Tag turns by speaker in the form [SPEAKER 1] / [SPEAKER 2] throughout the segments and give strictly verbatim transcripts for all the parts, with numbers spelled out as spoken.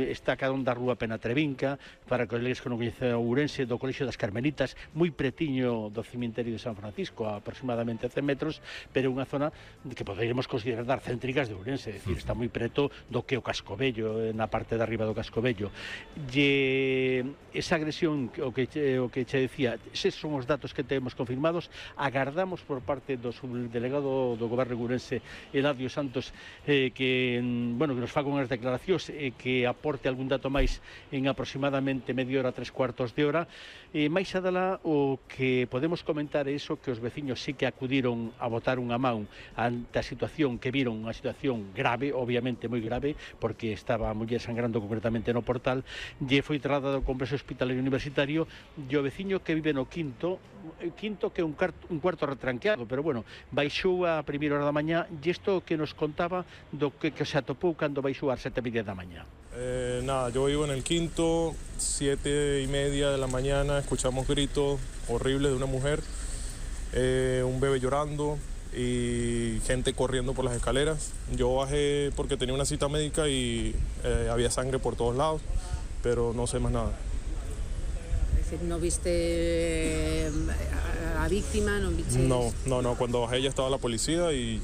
[SPEAKER 1] está cada un da rúa Penatrevinca, para que leis que non coñecen Ourense, do Colexio das Carmelitas, moi pretiño do cemiterio de San Francisco, a aproximadamente cen metros, pero unha zona que poderíamos considerar das céntricas de Ourense, é dicir, está moi preto do que o Cascovello, na parte de arriba do Cascovello. E esa agresión, o que, o que che decía, eses son os datos que temos confirmados. Agardamos por parte do subdelegado do Goberno de Ourense, Eladio Santos, eh, que, bueno, que nos faga unhas declaracións e que aporte algún dato máis en aproximadamente media hora, tres cuartos de hora. E máis adala, o que podemos comentar é iso, que os veciños sí que acudiron a botar unha man ante a situación, que viron unha situación grave, obviamente moi grave, porque estaba a muller sangrando concretamente no portal, e foi trasladado ao complexo hospitalario universitario, e o veciño que vive no quinto, quinto que é un, un cuarto retranqueado, pero bueno, baixou a primeira hora da mañá, e isto que nos contaba do que, que se atopou cando baixou ás sete e media da mañá.
[SPEAKER 2] Eh, nada, yo vivo en el quinto, siete y media de la mañana, escuchamos gritos horribles de una mujer, eh, un bebé llorando y gente corriendo por las escaleras. Yo bajé porque tenía una cita médica y eh, había sangre por todos lados, pero no sé más nada.
[SPEAKER 3] Es decir, ¿no viste a la víctima? ¿No viste?
[SPEAKER 2] No, no, no, cuando bajé ya estaba la policía y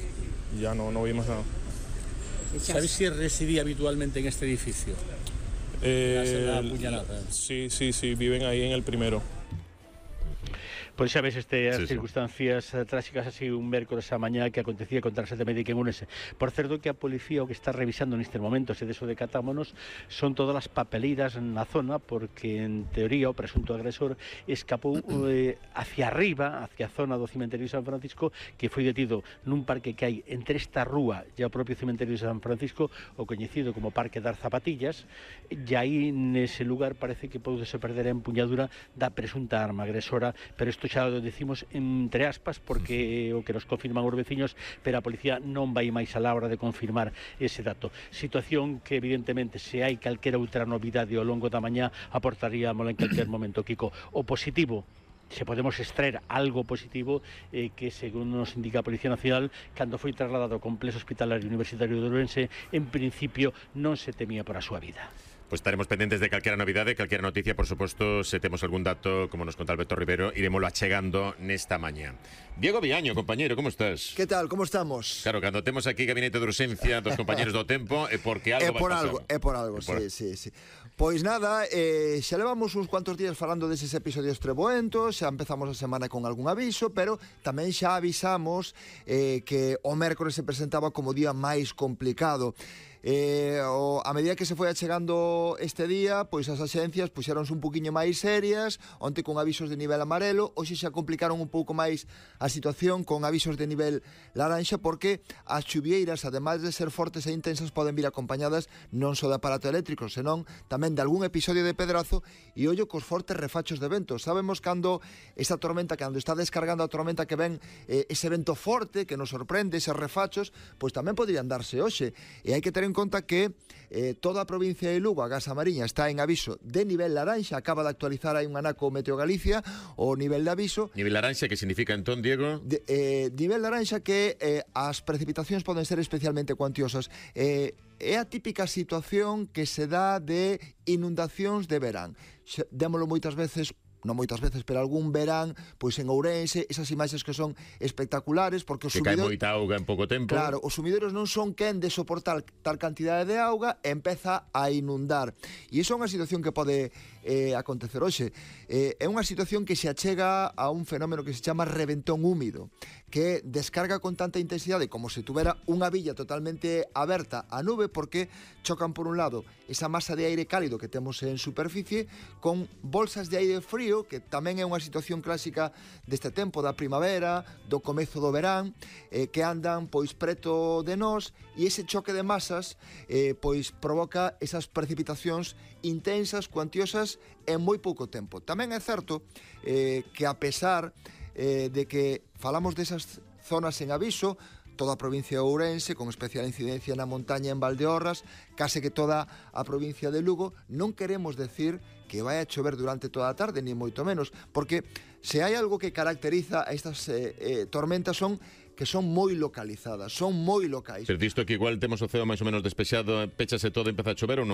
[SPEAKER 2] ya no, no vi más nada.
[SPEAKER 4] ¿Sabes si residía habitualmente en este edificio?
[SPEAKER 2] Eh, sí, sí, sí, viven ahí en el primero.
[SPEAKER 1] Pois xa ves estas
[SPEAKER 5] sí,
[SPEAKER 1] circunstancias sí. tráxicas así un mércores a mañá que acontecía contra a sete médica en Ourense. Por certo que a policía o que está revisando nestes momentos, e deso decatámonos, son todas as papeleiras na zona, porque en teoría o presunto agresor escapou eh, hacia arriba, hacia a zona do cementerio de San Francisco, que foi detido nun parque que hai entre esta rúa e o propio cementerio de San Francisco, o coñecido como Parque das Zapatillas, e aí nese lugar parece que poudese perder a empuñadura da presunta arma agresora, pero isto xa o decimos entre aspas porque o que nos confirman os veciños, pero a policía non vai máis a la hora de confirmar ese dato. Situación que evidentemente se hai calquera outra novidade ao longo da mañá aportaríamos en calquer momento, Kiko. O positivo, se podemos extraer algo positivo, eh, que según nos indica a Policía Nacional, cando foi trasladado ao complexo hospitalario universitario de Ourense, en principio non se temía por a súa vida.
[SPEAKER 5] Pues estaremos pendientes de calquera novidade, calquera noticia, por suposto, se temos algún dato, como nos conta Alberto Rivero, iremoslo achegando nesta mañá. Diego Viaño, compañero, como estás?
[SPEAKER 6] Que tal, como estamos?
[SPEAKER 5] Claro, cando temos aquí gabinete de urxencia dos compañeros do tempo, é porque algo
[SPEAKER 6] é por
[SPEAKER 5] vai
[SPEAKER 6] algo,
[SPEAKER 5] pasar.
[SPEAKER 6] É por algo,
[SPEAKER 5] é por...
[SPEAKER 6] sí, sí, sí. Pois nada, eh, xa levamos uns cuantos días falando deses episodios treboentos, xa empezamos a semana con algún aviso, pero tamén xa avisamos eh, que o mércores se presentaba como o día máis complicado. Eh, o, a medida que se foi achegando este día, pois as axencias puxeronse un poquinho máis serias, onte con avisos de nivel amarelo, hoxe xa complicaron un pouco máis a situación con avisos de nivel laranxa, porque as chuvieiras, ademais de ser fortes e intensas, poden vir acompañadas non só de aparato eléctrico, senón tamén de algún episodio de pedrazo, e ollo cos fortes refachos de vento. Sabemos cando esta tormenta, cando está descargando a tormenta que ven eh, ese vento forte que nos sorprende, eses refachos, pois tamén podrían darse hoxe, e hai que ter en conta que eh, toda a provincia de Lugo, a Gasa Mariña, está en aviso de nivel laranxa. Acaba de actualizar aí un anaco Meteo Galicia o nivel de aviso.
[SPEAKER 5] Nivel laranxa, que significa entón, Diego?
[SPEAKER 6] De, eh, nivel laranxa que eh, as precipitacións poden ser especialmente cuantiosas. Eh, é a típica situación que se dá de inundacións de verán. Démolo moitas veces, non moitas veces, pero algún verán, pois en Ourense, esas imaxes que son espectaculares, porque os
[SPEAKER 5] que
[SPEAKER 6] sumidores...
[SPEAKER 5] cae moita auga en pouco tempo.
[SPEAKER 6] Claro, os sumidores non son quen de soportar tal cantidade de auga e empeza a inundar. E iso é unha situación que pode eh, acontecer hoxe. Eh, é unha situación que se achega a un fenómeno que se chama reventón húmido, que descarga con tanta intensidade como se tuvera unha villa totalmente aberta a nube, porque chocan por un lado esa masa de aire cálido que temos en superficie con bolsas de aire frío, que tamén é unha situación clásica deste tempo da primavera, do comezo do verán, eh, que andan pois preto de nós, e ese choque de masas eh, pois provoca esas precipitacións intensas, cuantiosas en moi pouco tempo. Tamén é certo eh, que a pesar eh, de que falamos desas zonas en aviso, toda a provincia de Ourense, con especial incidencia na montaña en Valdeorras, case que toda a provincia de Lugo, non queremos decir que vai a chover durante toda a tarde, ni moito menos, porque se hai algo que caracteriza a estas eh, eh, tormentas son que son moi localizadas, son moi locais.
[SPEAKER 5] Pero disto que igual temos o ceo máis ou menos despexado, pechase todo e empeza a chover ou non?